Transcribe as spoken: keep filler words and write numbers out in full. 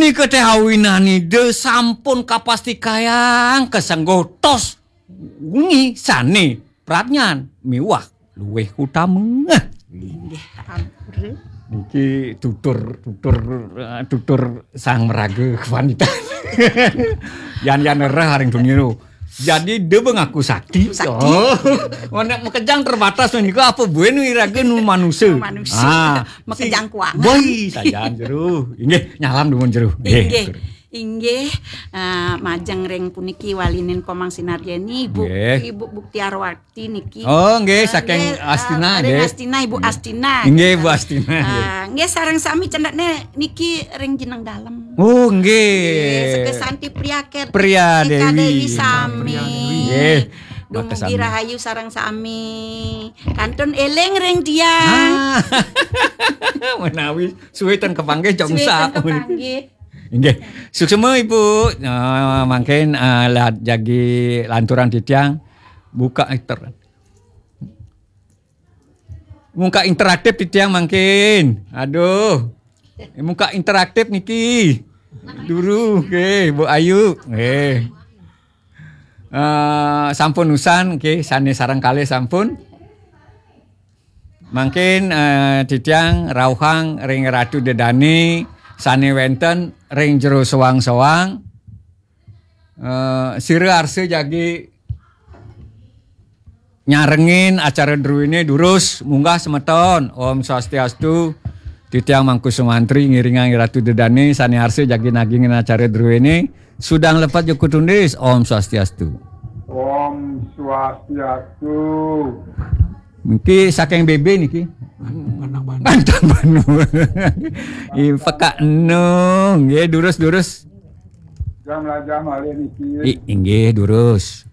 Nika téh awinan Ida sampun kapastikayang kasengguh tos wengi sané pradnyan miwah luwih utama. Inggih, ampun. Niki tutur tutur eh, tutur sang meraga kewanita. Yan yan rereh aring tuniro. Jadi dia mengaku sakti. Sakti. Oh, mana makejang terbatas nika apa buin wiraga nu manusia. Manusia. Ah, Makejang kuangan. Boy, sajan jero. Inggih, nyalam dumun jero. Inggih. Inggih, eh, majeng ring puniki walinin Komang Sinarjeni, Ibu Nggih. Ibu Buktiarwati niki. Oh, nggih, Eh, saking nggih, eh, Astina, ring nggih. Astina, Ibu Astina. Inggih, Bu Astina. Eh, nggih, sareng sami cendekne niki ring jeneng dalem. Oh, Nggih, nggih. Seke Santi Priaket. Priya Ika Dewi. Dewi sami. Nggih. Dumugi Makasami. Rahayu sareng sami. Kantun eling ring tiang. Ah. Menawi suwe ten kepanggih jam Suwe sa. ten kepanggih. Inggih. Suksema Ibu. Ah, mangkin ah, la- jagi lanturan titiang buka inter. Muka interaktif titiang mangkin. Aduh. Muka interaktif niki. Dulu, oke, Bu Ayu. Nggih. Eh, sampun usan, oke, sane sareng kalih sampun. Mangkin eh, titiang rauhang ring Ratu Dedane sane wenten ring jero soang-soang. Eh, sira arsa jagi nyarengin acara druene durus munggah semeton. Om Swastiastu. Titiang Mangku Sumantri ngiringang Ratu Dedane sane arsa jagi nagingin acara druene. Sudang lepat jukut tundis. Om Swastiastu. Om Swastiastu. Niki saking B B niki. Pantang Banu. Ih, pekak enung. Nggih, durus-durus. Jam lajah malih niki. I, inggih, durus.